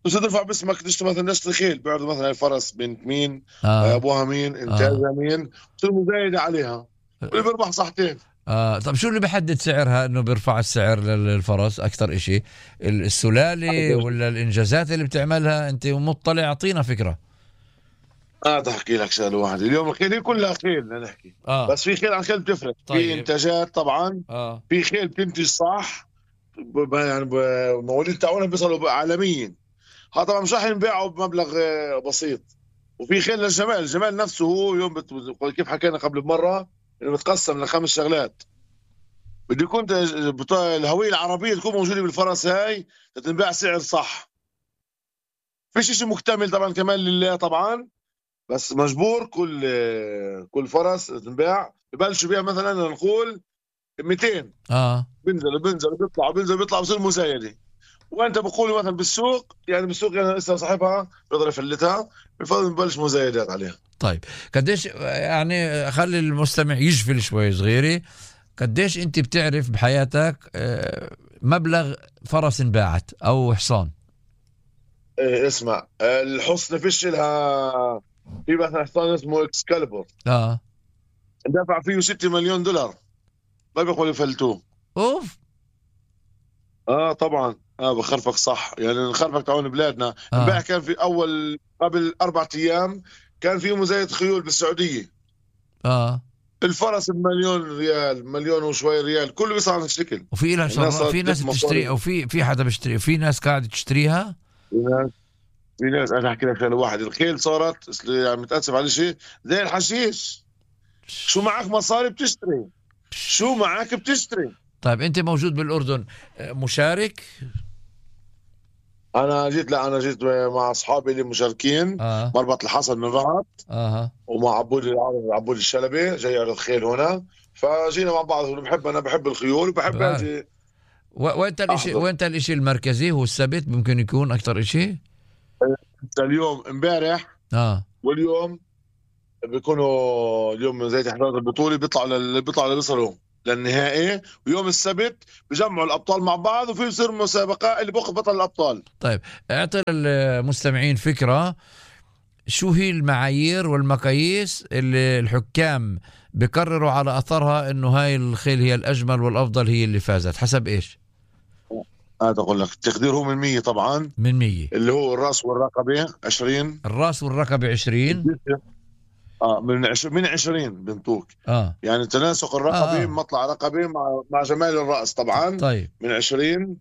بصير ترفع باسمك تشتري مثلا نشتري خيل. بيعرضوا مثلا الفرس بنت مين،
آه.
ابوها مين، انتاجها
آه.
مين، بصير مزايده عليها واللي بيربح صحتين.
آه. طب شو اللي بحدد سعرها انه بيرفع السعر للفرس اكثر اشي؟ السلالة ولا الانجازات اللي بتعملها؟ انت مطلع، اعطينا فكرة.
اه تحكي لك شغله واحده. اليوم الخيل كلها خيل بدنا نحكي. آه. بس في خيل عن خيل بتفرق. طيب. في انتاجات طبعا.
آه.
في خيل بتنتج صح يعني مواليد تاعونها بيصلوا عالميا. ها طبعا مش راح ينباعوا بمبلغ بسيط. وفي خيل للجمال، الجمال نفسه هو يوم بت... كيف حكينا قبل بمره انه بتقسم لخمس شغلات. بده يكون الهويه العربيه تكون موجوده بالفرس هاي تنباع سعر صح. فيش شيء مكتمل طبعا كمان لله طبعا، بس مجبور كل كل فرس تنباع. ببلشوا بيها مثلا نقول مئتين. اه بنزل بنزل بيطلع بنزل بيطلع بصير مزايده. وانت بقول مثلا بالسوق يعني بالسوق يعني لسه صاحبها بيقدر يفلتها، بفضل نبلش مزايدات عليها.
طيب قديش يعني خلي المستمع يجفل شوي صغيري، قديش انت بتعرف بحياتك مبلغ فرس انباعت او حصان؟
ايه اسمع، الحصن فيش لها. في مثلا حصان اسمه اكسكاليبر
اه
دفع فيه ستة مليون دولار ما بيقولوا يفلتوه.
اوف.
اه طبعا اه بخرفك صح. يعني نخرفك تعون بلادنا. امبارح آه. كان في اول قبل اربع ايام كان في مزايد خيول بالسعوديه.
اه
الفرس بمليون ريال، مليون وشوي ريال، كله بيصير على الشكل.
وفي لها شر... في ناس بتشتري او في في حدا بيشتري، في ناس قاعده تشتريها.
في ناس في ناس انا احكي لك شغله واحد. الخيل صارت يعني متاسف على شيء زي الحشيش. شو معك مصاري بتشتري، شو معك بتشتري.
طيب انت موجود بالاردن مشارك؟
انا جيت لا انا جيت مع اصحابي اللي مشاركين. آه. مربط الحسن من رهط.
اها
ومع عبود عبود الشلبي جاي يعرض خيل هنا، فجينا مع بعض. بحب انا بحب الخيول وبحب اجي
وانت الاشي وانت الاشي المركزي هو السبت ممكن يكون اكثر اشي.
اليوم امبارح
اه
واليوم بيكونوا اليوم زي تحضيرات البطوله بيطلعوا لل... بيطلعوا اللي بيصلوا للنهائي، ويوم السبت بيجمعوا الابطال مع بعض وفي يصير مسابقه اللي بياخذ بطل الابطال.
طيب اعطي للمستمعين فكره شو هي المعايير والمقاييس اللي الحكام بقرروا على اثرها انه هاي الخيل هي الاجمل والافضل، هي اللي فازت حسب ايش؟
هذا اقول لك التقدير هو من مية طبعا،
من مية
اللي هو الراس والرقبه عشرين،
الراس والرقبه عشرين،
اه من عشرين من عشرين بنطوك
اه
يعني تناسق الرقبه
آه.
مطلع رقبه مع مع جمال الراس طبعا.
طيب
من عشرين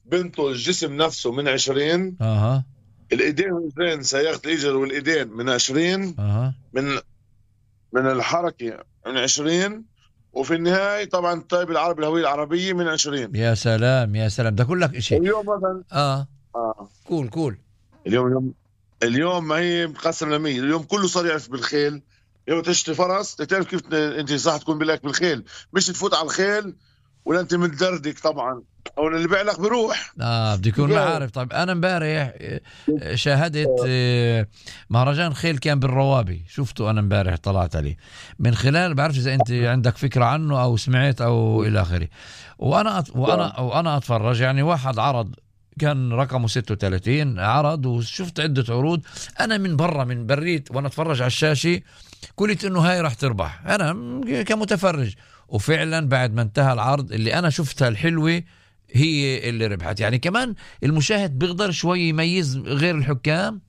بنطو الجسم نفسه من عشرين،
اها
الايدين والرجلين سياقة الاجر والايدين من عشرين،
اها
من من الحركه من عشرين، وفي النهايه طبعا الطيب العربي الهويه العربيه من عشرين.
يا سلام يا سلام، ده كلك اشي.
اليوم مثلا
اه
اه
كول كول
اليوم اليوم اليوم ما هي مقسم لمية، اليوم كله صار يعرف بالخيل. اليوم تشتري فرس تعرف كيف انت صح تكون بالك بالخيل، مش تفوت على الخيل ولا انت متدردك طبعا، او اللي بيع لك بيروح.
اه بده يكون عارف. طيب انا امبارح شاهدت مهرجان خيل كان بالروابي، شفته انا امبارح طلعت عليه من خلال، بعرفش اذا انت عندك فكره عنه او سمعت او الى اخره. وانا وانا وانا اتفرج يعني واحد عرض كان رقمه ستة وثلاثين عرض، وشفت عده عروض انا من برا من بريت وانا اتفرج على الشاشه قلت انه هاي راح تربح انا كمتفرج، وفعلا بعد ما انتهى العرض اللي انا شفتها الحلوه هي اللي ربحت. يعني كمان المشاهد بيقدر شوي يميز غير الحكام.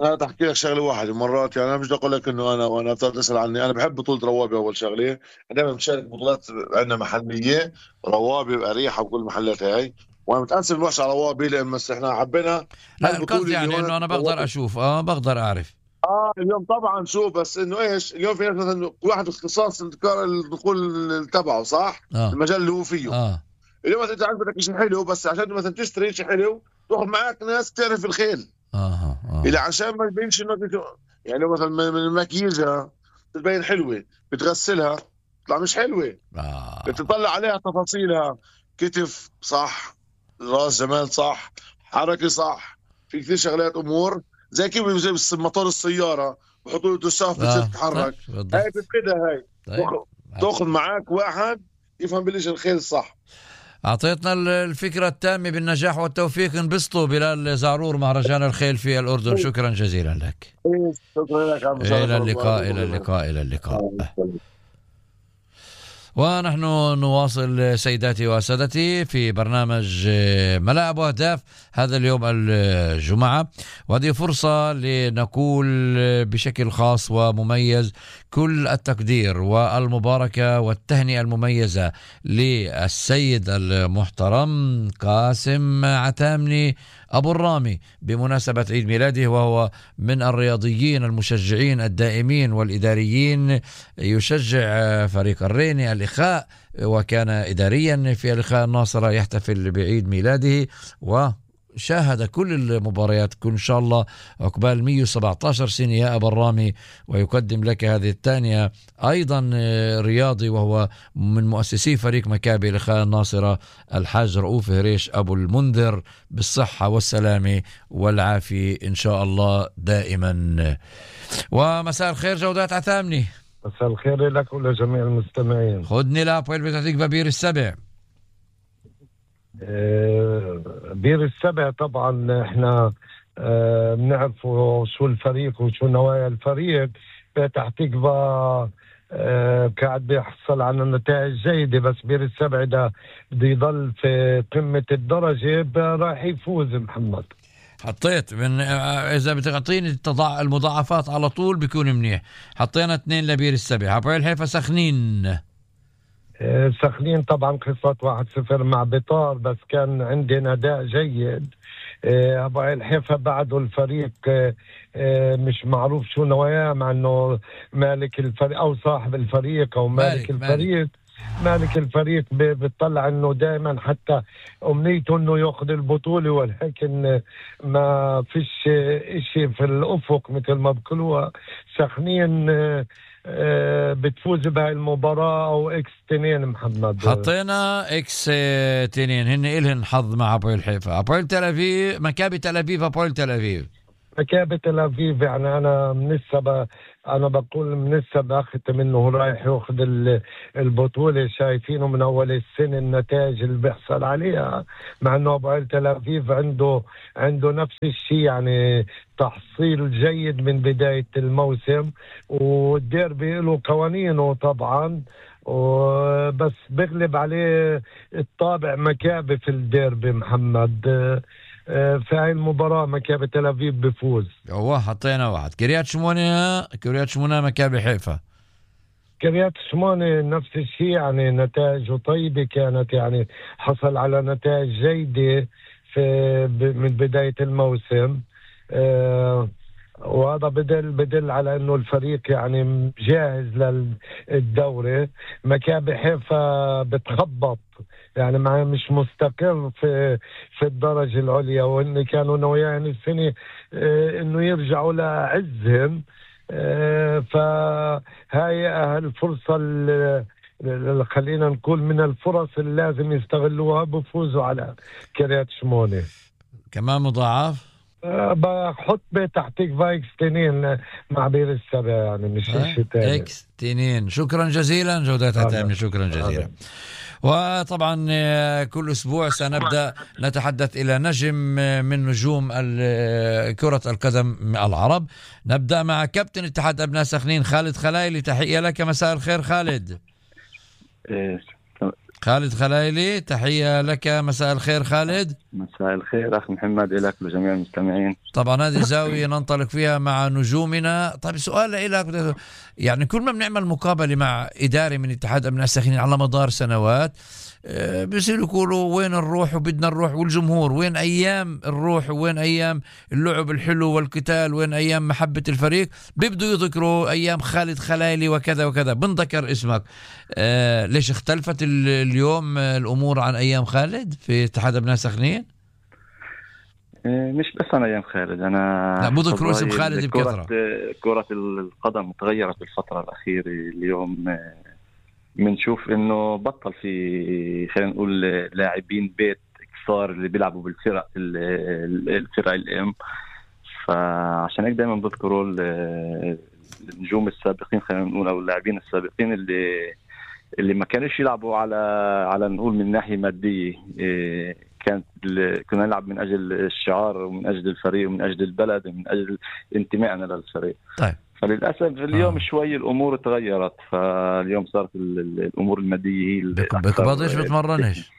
انا تحكي لك شغله واحده مرات، يعني انا مش بدي اقول لك انه انا وانا تسال عني، انا بحب بطوله روابي اول شغله، دائما بشارك بطولات عندنا محليه روابي واريحه وكل المحلات هاي، وانا متاسف الوحش على روابي لان بس احنا حبينا.
لا القصد يعني انه انا بقدر اشوف اه بقدر اعرف
اه اليوم طبعا شوف، بس انه ايش اليوم في ناس مثلا كل واحد اختصاص الدخول تبعه صح
آه.
المجال اللي هو فيه
اه
اليوم انت عندك شيء حلو، بس عشان مثلا تشتري شيء حلو تاخذ معك ناس تعرف الخيل
اه اه
اللي عشان ما يبينش انه يعني مثلا من المكياجها بتبين حلوه بتغسلها تطلع مش حلوه.
آه.
بتطلع عليها تفاصيلها، كتف صح، راس جمال صح، حركه صح، في كثير شغلات امور زي كيف زي موتور السياره بحطوا له تشاف بتصير تتحرك.
طيب.
هاي بتفيدها هاي.
طيب.
تاخذ معك واحد يفهم بالإيش الخيل الصح.
أعطيتنا الفكرة التامة بالنجاح والتوفيق. انبسطوا بلال زعرور مهرجان الخيل في الأردن. شكرا جزيلا لك.
شكرا لك.
إلى اللقاء إلى اللقاء إلى اللقاء. ونحن نواصل سيداتي وسادتي في برنامج ملاعب وأهداف هذا اليوم الجمعة، وهذه فرصة لنقول بشكل خاص ومميز كل التقدير والمباركة والتهنئة المميزة للسيد المحترم قاسم عتامني أبو الرامي بمناسبة عيد ميلاده، وهو من الرياضيين المشجعين الدائمين والإداريين، يشجع فريق الريني الإخاء وكان إداريا في الإخاء الناصرة، يحتفل بعيد ميلاده وشاهد كل المباريات كل إن شاء الله عقبال مئة وسبعة عشر سنة يا أبو الرامي، ويقدم لك هذه الثانية أيضا رياضي وهو من مؤسسي فريق مكابي الإخاء الناصرة الحاج رؤوف هريش أبو المنذر، بالصحة والسلامة والعافية إن شاء الله دائما. ومساء الخير جودات عتامني.
مساء الخير لك ولجميع المستمعين.
خدني لابويل بتعطيك ببير السبع.
آه بير السبع طبعا احنا آه بنعرفوا شو الفريق وشو نوايا الفريق. فتح تقبى آه قاعد بيحصل على نتائج جيدة، بس بير السبع ده بده يضل في قمة الدرجة راح يفوز محمد.
حطيت من اذا بتعطيني المضاعفات على طول بيكون منيح. حطينا اثنين لبير السبع. عبويل حيفا سخنين
آه سخنين طبعا خسرت واحد صفر مع بطار، بس كان عندنا اداء جيد. آه عبويل حيفا بعده الفريق آه آه مش معروف شو نواياه، مع انه مالك الفريق او صاحب الفريق او مالك, مالك الفريق مالك الفريق بيطلع انه دائما حتى امنيته انه ياخذ البطوله، ولكن ما فيش اشي في الافق مثل ما بقولوها. سخنين بتفوز بهاي المباراه او اكس تنين. محمد
حطينا اكس تنين، هن إلهن حظ مع ابويل حيفا. ابويل تل ابيب، مكابي تل ابيب، ابويل تل ابيب.
مكابي تل ابيب يعني انا من السبب انا بقول من السبب اخذت منه رايح ياخذ البطوله. شايفينه من اول السنه النتائج اللي بيحصل عليها، مع انه ابويل تل ابيب عنده عنده نفس الشيء، يعني تحصيل جيد من بدايه الموسم، والديربي له قوانينه طبعا، وبس بغلب عليه الطابع مكابي في الديربي. محمد في هاي المباراة مكابي تل أبيب بفوز.
هو حطينا واحد. كريات شمونة كريات شمونة مكابي حيفا.
كريات شمونة نفس الشيء، يعني نتائجه طيبة كانت، يعني حصل على نتائج جيدة في من بداية الموسم. أه وهذا بدل بدل على انه الفريق يعني جاهز للدوري. مكابي حيفا بتخبط، يعني ما مش مستقر في في الدرجة العليا، وإن كانوا ناويين السنة اه إنه يرجعوا لعزهم. اه فهاي الفرصة اللي خلينا نقول من الفرص اللي لازم يستغلوها بفوزوا على كريات شمونة.
كمان مضاعف
بحط بتحتيك فايكس تنين مع بير السبع، يعني مش شيء تاني.
اكس تنين. شكرا جزيلا جودتها تامين، شكرا جزيلا. آه. وطبعا كل أسبوع سنبدأ نتحدث إلى نجم من نجوم كرة القدم العرب. نبدأ مع كابتن اتحاد أبناء سخنين خالد خلايلي. تحية لك، مساء الخير خالد. خالد خلايلي، تحية لك، مساء الخير خالد.
مساء الخير أخي محمد، إليك لجميع المستمعين.
طبعا هذه زاوية ننطلق فيها مع نجومنا. طيب سؤال لك، يعني كل ما بنعمل مقابلة مع إداري من اتحاد أبناء سخنين على مدار سنوات بيصيروا يقولوا وين الروح وبدنا نروح، والجمهور وين أيام الروح وين أيام اللعب الحلو والقتال، وين أيام محبة الفريق. بيبدوا يذكروا أيام خالد خلايلي وكذا وكذا، بنذكر اسمك. آه ليش اختلفت اليوم الأمور عن أيام خالد في اتحاد أبناء سخنين؟
مش بس أنا أيام خالد، أنا
لا بذكروا اسم خالد بكثرة.
كرة القدم تغيرت بالفترة الأخيرة. اليوم بنشوف انه بطل في خلينا نقول لاعبين بيت كثار اللي بيلعبوا بالفرق الفرق الام، فعشان هيك دائما بذكروا النجوم السابقين خلينا نقول او اللاعبين السابقين اللي اللي ما كانوش يلعبوا على على نقول من ناحيه ماديه. كانت كنا نلعب من اجل الشعار ومن اجل الفريق ومن اجل البلد ومن اجل انتمائنا للفريق.
طيب
فللأسف اليوم آه. شوي الأمور تغيرت، فاليوم صارت الأمور المادية هي
بكبضيش بتمرنش.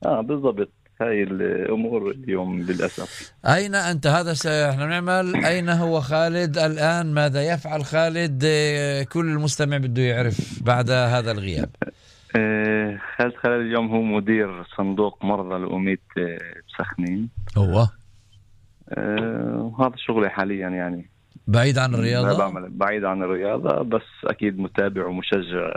آه بالضبط، هاي الأمور اليوم للأسف.
أين أنت؟ هذا احنا بنعمل أين هو خالد الآن؟ ماذا يفعل خالد؟ كل المستمع بده يعرف بعد هذا الغياب.
آه خالد خالد اليوم هو مدير صندوق مرضى الأميت بسخنين.
هو
آه وهذا شغلي حاليا، يعني
بعيد عن الرياضة.
بعمل بعيد عن الرياضة، بس أكيد متابع ومشجع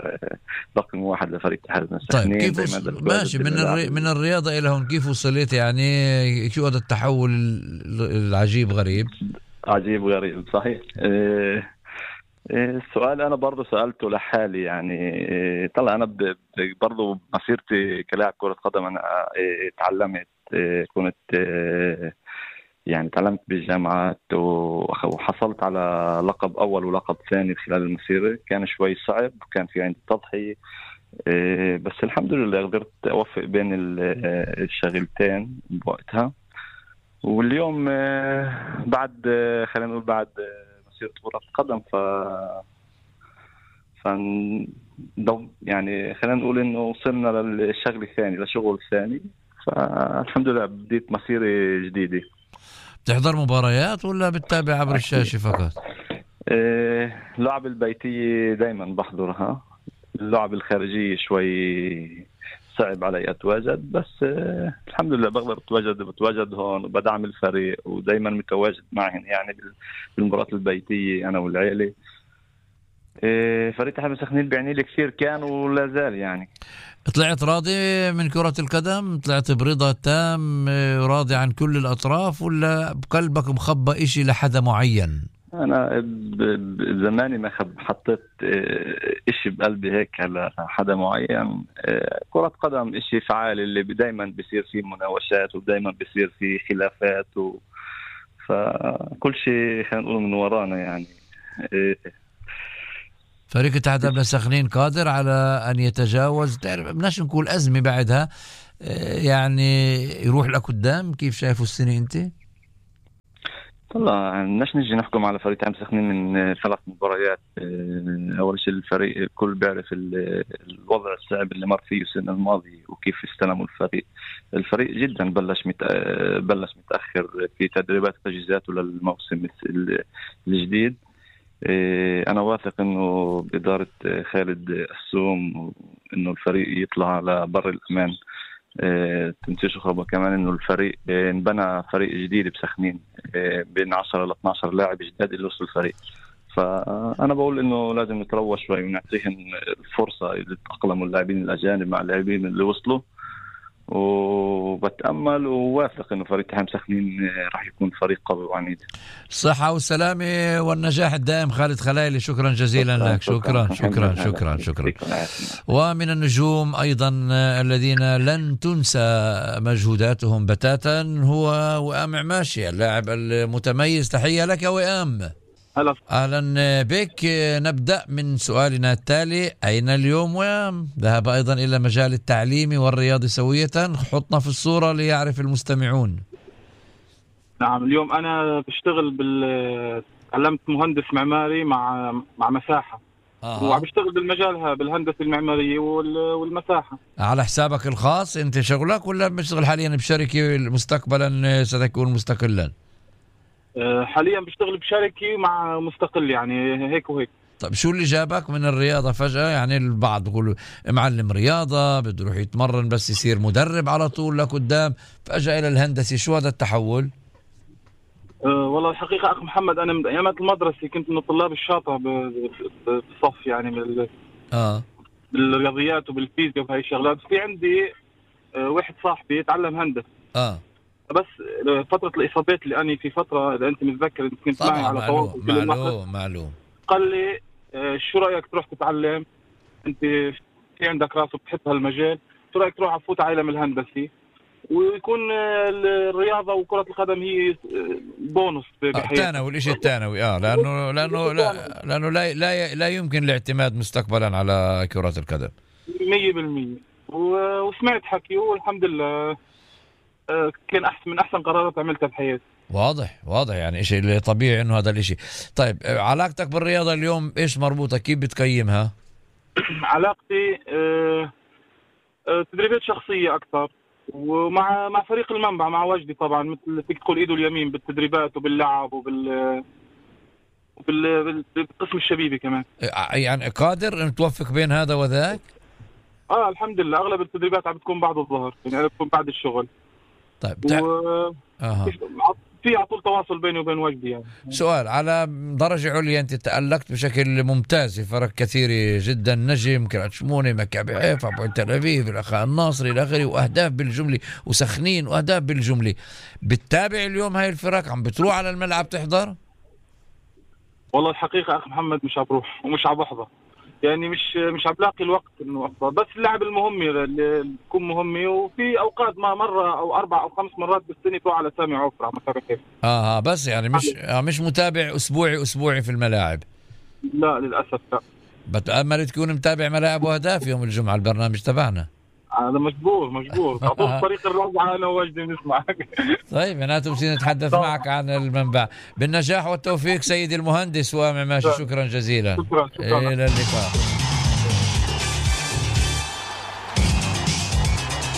رقم واحد لفريق اتحاد
سخنين. طيب كيف ماشي من الري... من الرياضة إلى هون كيف وصلت؟ يعني شو هذا التحول العجيب غريب؟
عجيب غريب صحيح. إيه... السؤال أنا برضو سألته لحالي، يعني إيه... طلع أنا ب... برضو مسيرتي كلاعب كرة قدم أنا إيه... تعلمت إيه... كنت إيه... يعني تعلمت بالجامعات وحصلت على لقب أول ولقب ثاني خلال المسيرة. كان شوي صعب، كان في عندي تضحية، بس الحمد لله قدرت أوفق بين الشغلتين بوقتها. واليوم بعد خلينا نقول بعد مسيرة كرة القدم ف ف يعني خلينا نقول إنه وصلنا للشغل الثاني لشغل ثاني، فالحمد لله بديت مسيرة جديدة.
بتحضر مباريات ولا بتتابع عبر الشاشة فقط؟
إيه اللعب البيتية دايما بحضرها، اللعب الخارجية شوي صعب علي أتواجد، بس إيه الحمد لله بقدر أتواجد بتواجد هون وبدعم الفريق ودايما متواجد معهم يعني بالمباريات البيتية أنا والعائلة. فريق اتحاد مسخنين بيعني لي كثير كان ولا زال يعني.
طلعت راضي من كرة القدم؟ طلعت برضا تام راضي عن كل الأطراف ولا بقلبك مخبى إشي لحدا معين؟
أنا بزماني ما حطيت إشي بقلبي هيك على حدا معين. كرة قدم إشي فعال اللي دايما بيصير فيه مناوشات ودايما بيصير فيه خلافات و... فكل شيء خلينا نقول من ورانا يعني.
فريق اتحاد ابناء سخنين قادر على أن يتجاوز، بدناش نقول أزمة بعدها، يعني يروح لقدام. كيف شايفوا السنة أنت؟
طلع بدناش نجي نحكم على فريق اتحاد سخنين من ثلاث مباريات. أول شيء الفريق الكل بيعرف الوضع الصعب اللي مر فيه السنة الماضية وكيف استلموا الفريق. الفريق جدا بلش مت... بلش متأخر في تدريبات تجهيزاته للموسم الجديد. أنا واثق إنه بإدارة خالد السوم إنه الفريق يطلع على بر الأمان. تنسيش خبر كمان إنه الفريق انبنى فريق جديد بسخنين بين عشرة ل اثني عشر لاعب جداد اللي وصلوا الفريق. فأنا بقول إنه لازم نتروى شوي ونعطيهم الفرصة يتأقلموا اللاعبين الأجانب مع اللاعبين اللي وصلوا، وبتأمل وواثق إنه فريق اتحاد سخنين راح يكون فريق قوي وعنيد.
الصحة والسلامة والنجاح الدائم خالد خلايلي، شكرا جزيلا شكرا لك. شكرا شكرا شكرا شكرا, شكرا. ومن النجوم أيضا الذين لن تنسى مجهوداتهم بتاتا هو وئام عماشي اللاعب المتميز. تحية لك وئام.
هلا.
أهلا بك. نبدأ من سؤالنا التالي: أين اليوم وئام؟ ذهب أيضا إلى مجال التعليم والرياضة سوية. حطنا في الصورة ليعرف المستمعون.
نعم، اليوم أنا بشتغل بال تعلمت مهندس معماري مع مع مساحة. آه. وعم بشتغل بالمجالها بالهندسة المعمارية والمساحة. على
حسابك الخاص أنت شغلك ولا بشتغل حاليا بشركة مستقبلا ستكون مستقلا؟
حاليا بشتغل بشركة مع مستقل يعني هيك وهيك.
طيب شو اللي جابك من الرياضة فجأة؟ يعني البعض بيقولوا معلم رياضة بده يروح يتمرن بس يصير مدرب على طول لقدام، فجأة إلى الهندسة. شو هذا التحول؟
أه والله الحقيقة أخ محمد أنا من أيامات المدرسة كنت من الطلاب الشاطر بالصف يعني بال
آه
بالرياضيات وبالفيزياء وهي الشغلات. في عندي أه واحد صاحبي يتعلم هندسة.
آه
بس فترة الإصابات اللي أنا في فترة إذا أنت متذكر أنت كنت معي على
تواصل معلوم معلوم
قال لي شو رأيك تروح تتعلم، أنت في عندك راس وبتحب هالمجال، شو رأيك تروح تفوت على علم الهندسي ويكون الرياضة وكرة القدم هي بونص
بحياتك. ثانوي الشيء الثانوي اه لأنه لأنه لا لأنه لا لا لا يمكن الاعتماد مستقبلا على كرة القدم
مية بالمية. وسمعت حكي والحمد لله كان أحسن من أحسن قرارات عملتها بحياتي.
واضح واضح يعني شيء طبيعي إنه هذا الشيء. طيب علاقتك بالرياضة اليوم إيش مربوطة؟ كيف بتقيمها؟
علاقتي أه أه تدريبات شخصية أكثر ومع مع فريق المنبع مع وجدي طبعا مثل فيك تقول إيده اليمين بالتدريبات وباللعب وبال وبالقسم الشبيبي كمان.
يعني قادر أن توفق بين هذا وذاك؟
آه الحمد لله أغلب التدريبات عم بتكون بعد الظهر يعني بتكون بعد الشغل.
طيب تع...
و...
أه.
في على طول تواصل بيني وبين وجدي يعني.
سؤال: على درجة عليا أنت تألقت بشكل ممتاز في فرق كثيرة جدا، نجم، كرات شمونة، مكابي حيفا، بوين تل أبيب، الأخاء الناصري إلى آخره، وأهداف بالجملة، وسخنين وأهداف بالجملة. بتتابع اليوم هاي الفرق؟ عم بتروح على الملعب تحضر؟
والله الحقيقة أخ محمد مش عبروح ومش عبحضر يعني مش مش عم بلاقي الوقت انه احضر، بس اللعب المهمه اللي تكون مهمه، وفي اوقات ما مره او اربع او خمس مرات بالسنه تروح على سامي عفرة مثلا كيف.
اه بس يعني مش آه مش متابع اسبوعي اسبوعي في الملاعب.
لا للاسف لا.
بتأمل تكون متابع ملاعب واهداف يوم الجمعه البرنامج تبعنا.
هذا مجبور مجبور تعطوه طريق الرابعه انا ووجدي نسمعك.
طيب معناته بصير نتحدث معك عن المنبع. بالنجاح والتوفيق سيدي المهندس وئام عماشي، شكرا جزيلا.
شكرا شكرا.
الى اللقاء.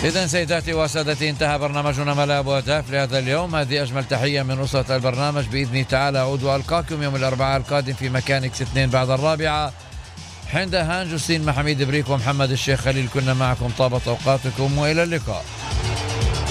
إذن سيداتي وسادتي انتهى برنامجنا ملاعب واهداف لهذا اليوم. هذه أجمل تحية من أسرة البرنامج. بإذن تعالى أعود وألقاكم يوم الأربعاء القادم في مكان إكس اثنين بعد الرابعة. حين هانج حسين محميد بريك ومحمد الشيخ خليل كنا معكم. طابت أوقاتكم وإلى اللقاء.